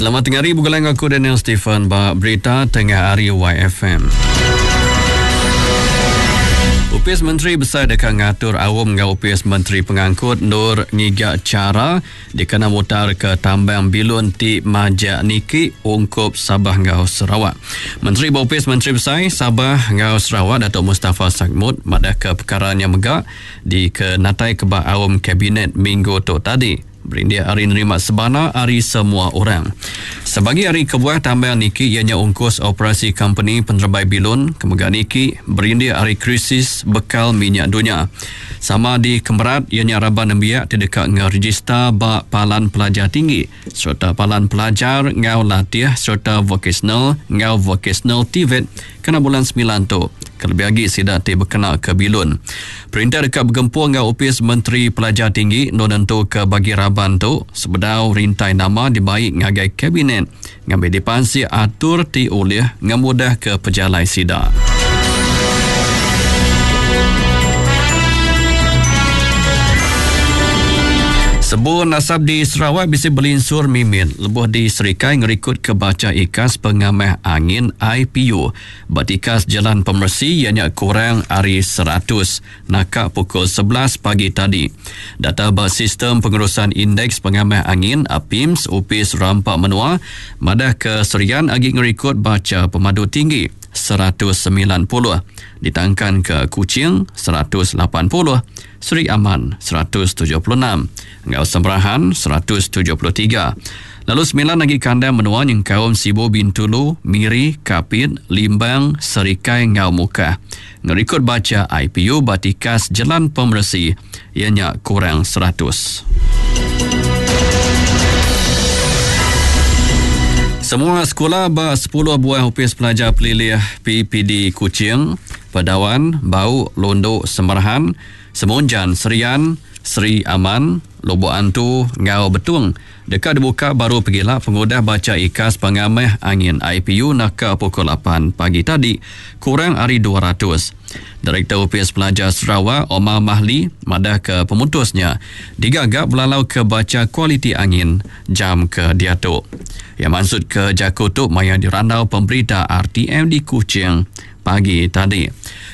Selamat tengah hari begulai enggau aku Daniel Stephen ba berita tengah hari YFM. Opis Menteri Besai deka ngatur aum enggau Opis Menteri Pengangkut endur ngiga chara dikena mutarka tambang bilun ti majak niki ungkup Sabah enggau Sarawak. Menteri ba Opis Menteri Besai Sabah enggau Sarawak Datuk Mustapha Sakmud madahka pekara nya mega dikenataika ba aum kabinet minggu tu tadi. Berindik ari nerima sebana ari semua orang. Sebagi ari kebuah tambang niki iya nya ungkus operasi kompeni penerebai bilun ke mega niki berindik ari krisis bekal minyak dunya. Sama dikemerat iya nya raban nembiak ti deka ngerejista ba palan pelajar tinggi sereta palan pelajar enggau latih sereta vokasional enggau vokasional TVET Kena bulan semilan tu, kelebih agi sida ti bekenaka bilun. Perintah deka begempung enggau Opis Menteri Pelajar Tinggi endur nentuka bagi raban tu sebedau rintai nama dibai ngagai Kabinet ngambi dipansik atur ti ulih ngemudahka pejalai sida. Sebun asap di Sarawak bisi belinsur mimit lebuh di Serikai ngerikutka bacha ikas pengamah angin IPU ba tikas jelan pemeresi iya nya kurang ari 100 naka pukul 11 pagi tadi. Data ba Sistem Pengurusan Indeks Pengamah Angin, APIMS, Opis Rampa Menua madahka Serian agi ngerikut bacha pemadu tinggi 190 ditangkanka Kuching 180, Sri Aman 176 enggau Semerahan 173. Lalu semilan agi kandang menua nyengkaum Sibu Bintulu, Miri, Kapit, Limbang, Serikai enggau Mukah ngerikod bacha IPU ba tikas jelan pemeresi iya nya kurang 100. Semua sekula ba sepuluh buah Opis Pelajar Pelilih PPD Kuching, Pedawan, Bau, Lundu, Semerahan, Semunjan, Serian, Sri Aman, Lubok Antu enggau Betong deka dibuka baru pegila pengudah bacha ikas pengamah angin IPU naka pukul lapan pagi tadi kurang ari 200. Direktor Opis Pelajar Sarawak Omar Mahli madahka pemutus nya digaga belalauka bacha kualiti angin jam ke diatu. Iya mansutka jaku tu maya dirandau pemberita RTM di Kuching Pagi tadi,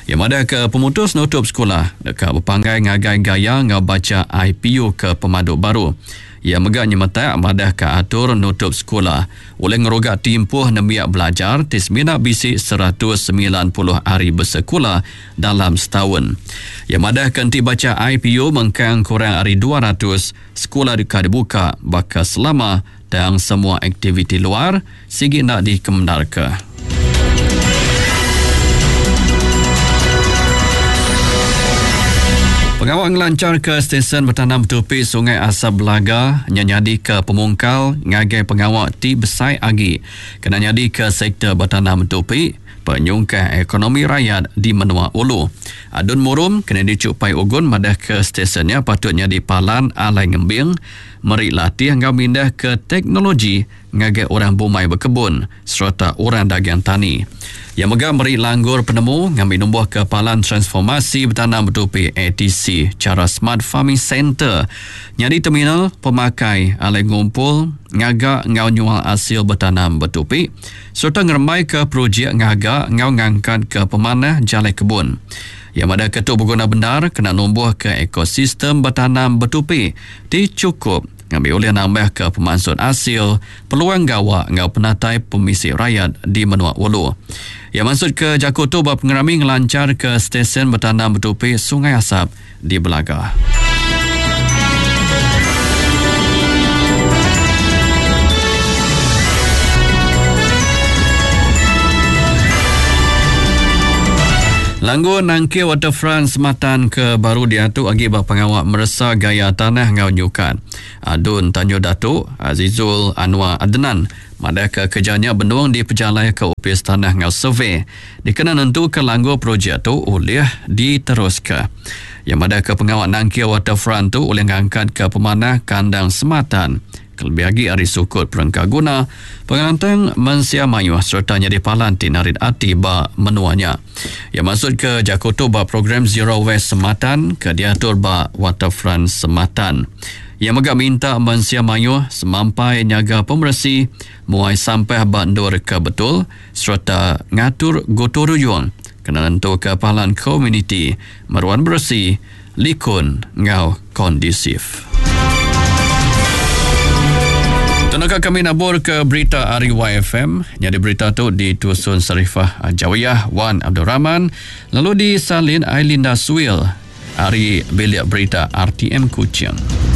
iya madahka pemutus nutup sekula deka bepanggai ngagai gaya enggau bacha IPU ke pemadu baru. Iya mega nyemetak madahka atur nutup sekula ulih ngeruga timpuh nembiak belajar ti semina bisi 190 hari besekula dalam setaun. Iya madahka enti bacha IPU mengkang kurang ari 200, sekula deka dibuka baka selama tang semua aktiviti luar Sigi enda dikemendarka. Pengawa ngelancharka stesen betanam betupi Sungai Asap Belaga nya nyadika pemungkal ngagai pengawa ti besai agi kena nyadika sektor betanam betupi penyungkah ekonomi rayat di menua ulu. Adun Murum Kennedy Chuk Pai Ugon madahka stesen nya patut nyadi palan alai ngembing, meri latih enggau mindahka teknologi ngagai orang bumai bekebun sereta orang dagang tani. Iya mega meri langgur penemu ngambi numbuhka Palan Transformasi Betanam Betupi ATC chara Smart Farming Centre nyadi terminal pemakai alai ngumpul, ngaga enggau nyual asil betanam betupi sereta ngerembaika projek ngaga enggau ngangkatka pemanah jalai kebun. Iya madahka tu beguna bendar kena numbuhka ekosistem betanam betupi ti chukup Ngambi ulih nambahka pemansut asil, peluang gawa enggau penatai pemisi rayat di menua ulu. Iya mansutka jaku tu ba pengerami ngelancharka Stesen Betanam Betupi Sungai Asap di Belaga. Langgur nangkir Waterfront Sematan ke baru diatu agi ba pengawa meresa gaya tanah enggau nyukat. Adun Tanjung Datu, Azizul Anwar Adnan madahka kereja nya benung dipejalaika Opis Tanah enggau Survey dikena nentuka langgur projek tu ulih diteruska. Iya madahka pengawa nangkir waterfront tu ulih ngangkatka pemanah kandang Sematan kelebih agi ari sukut perengka guna, pengelantang mensia mayuh sereta nyadi palan ti narit ati ba menua nya. Iya mansutka jaku tu ba program Zero Waste Sematan ke diatur ba Waterfront Sematan. Iya mega minta mensia mayuh semampai nyaga pemeresi, muai sampah ba endur ke betul sereta ngatur gutu ruyung kena nentuka palan komuniti meruan beresi, likun enggau kondusif. Tenaka kami nabur ke berita ari YFM. Nyadi berita tu ditusun Sarifah Jawiyah Wan Abdul Rahman lalu disalin Ailinda Suil ari Bilik Berita RTM Kuching.